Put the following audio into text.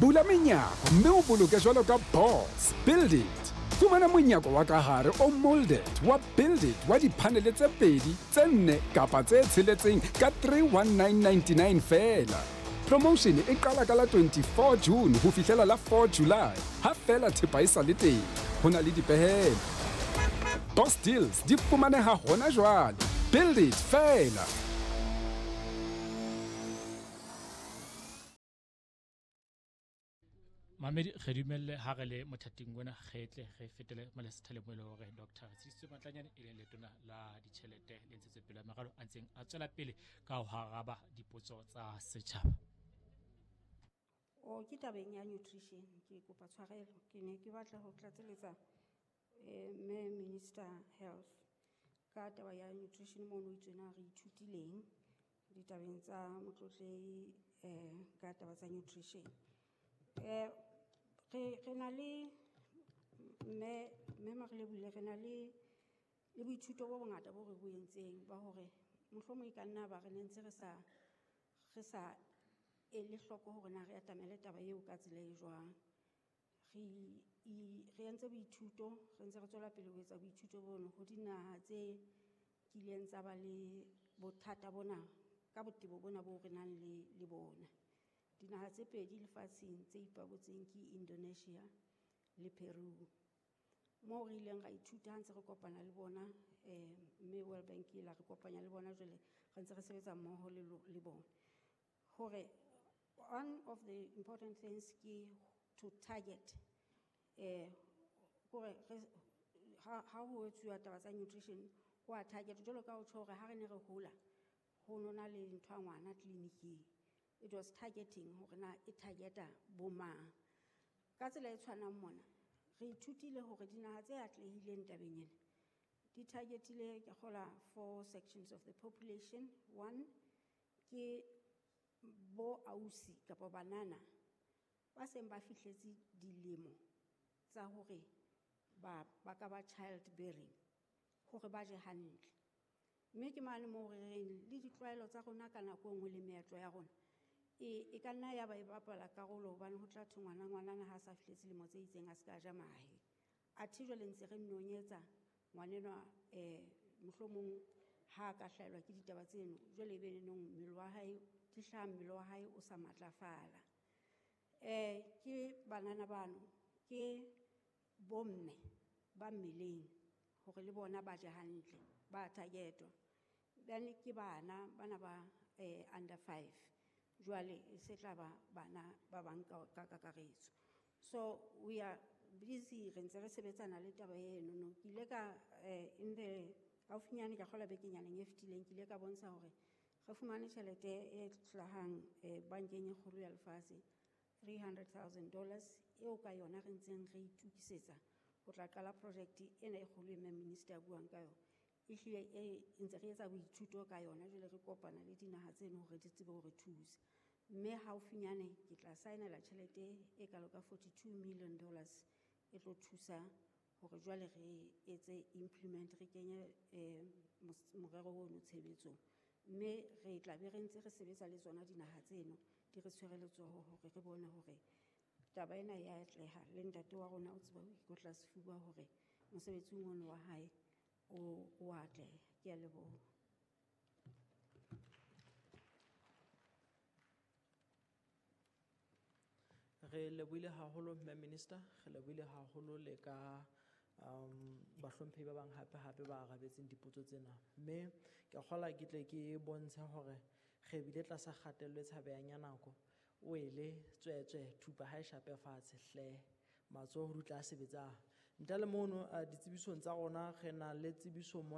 Bula menyako mme o boloke jwalo ka boss. Build it. Fumana monyako wa ka hare o molded wa Build It wa diphanele tse pedi, tse nne kapa tse tsheletseng ka 31999 feela. Promotion e qala ka la 24 June ho fihlela la 4 July, ha feela thepa e sa le teng. Ho na le dipehelo. Boss Deals di fumaneha hona jwale. Build It feela. Mamedi, re dumelle ha re le mothating ona, re tle re fetele mole sethaleng mo e leng hore Dr Tshedisitse Matlanyane, e leng letona la ditjhelete le ntshetsopele ya meralo, a ntseng a tswela pele ka ho araba dipotso tsa setjhaba. O ke tabeng ya nutrition, ke kopa tshwarelo, ke ne ke batla ho tlatseletsa mme Minister Health ka taba ya nutrition mono itswena re ithutileng ditabeng tsa motlotlehi ka taba tsa nutrition. Re na le mme Marelebule, re na le boithuto bo bongata bo re bo entseng ba hore mohlomong e ka nna ba re ne ntse re sa ele hloko hore na re atamele taba eo ka tsela e jwang. Re entse boithuto, re ntse re tswela pele ho etsa boithuto bono ho dinaha tse kileng tsa ba le bothata bona ka botebo bona bo re nang le bona. Dinaha tse pedi lefatsheng tse ipabotseng ke Indonesia le Peru. Moo re ileng ra ithuta ha ntse re kopana le bona, mme World Bank e la re kopanya le bona, jwale re ntse re sebetsa mmoho le bona. Hore one of the important things ke to target, kore ha ho etsuwa taba tsa nutrition, ho a target jwalo ka ho tjho hore ha re ne re hola ho nona le ntho ya ngwana tleliniking. It was targeting hore na e targeta bo mang. Ka tsela e tshwanang mona re ithutile hore dinaha tse atlehileng tabeng ena di targetile, ke kgola, four sections of the population. One ke bo ausi kapa banana ba seng ba fihletse dilemo tsa hore ba ka ba child bearing, hore ba je hantle. Mme ke mane moo re reng le ditlwaelo tsa rona ka nako e nngwe le meetlo ya rona e ka nna ya ba e bapala karolo, hobane ho tla thwe ngwanana ha sa fihletse dilemo tse itseng a se ka ja mahe. Athe jwale ntse re nnonyetsa ngwanenwa, mohlomong ha a ka hlahelwa ke ditaba tseno, jwale ebe nenong mmele wa hae di hlaha, mmele wa hae o sa matlafala. Ke banana bano, ke bomme ba mmeleng hore le bona ba je hantle, ba targetwa. Then ke bana bana ba under 5, jwale e se tla ba bana ba bang ka kakaretso. So we are busy, re ntse re sebetsana le taba eno no. Ke ile ka in the haufinyane, ka kgola bekenyaneng e fetileng, ke ile ka bontsha hore re fumane tjhelete e hlahang bankeng e kgolo ya lefatshe, $300,000, eo ka yona re ntseng re itukisetsa ho tla qala project ena e kgolo e mme minister a buang ka yona. Ehlile e ntse re etsa boithuto ka yona, jwale re kopana le dinaha tseno hore di tsebe hore thusa. Mme haufinyane ke tla saenela tjhelete e kalo ka $42 million e tlo thusa hore jwale re etse implement, re kenye morero ono tshebetsong. Mme re tla be re ntse re sebetsa le tsona dinaha tseno, di re tshwere letsoho hore re bone hore taba ena ya atleha. Le ntate wa rona o tseba ho ikotla sefuba hore mosebetsing ono wa hae o atleha. Ke a leboha. Re lebohile haholo mme minister, re lebohile haholo le ka bahlomphehi ba bang hape hape ba arabetseng dipotso tsena. Mme ke a kgolwa ke tle ke bontshe hore re bile tlasa kgatello e tshabehang ya nako. O ele tswetswe thupa ha e shape fatshe hle, matsoho di tla sebetsang. Ntle le mono, ditsebisong tsa rona re na le tsebiso mona.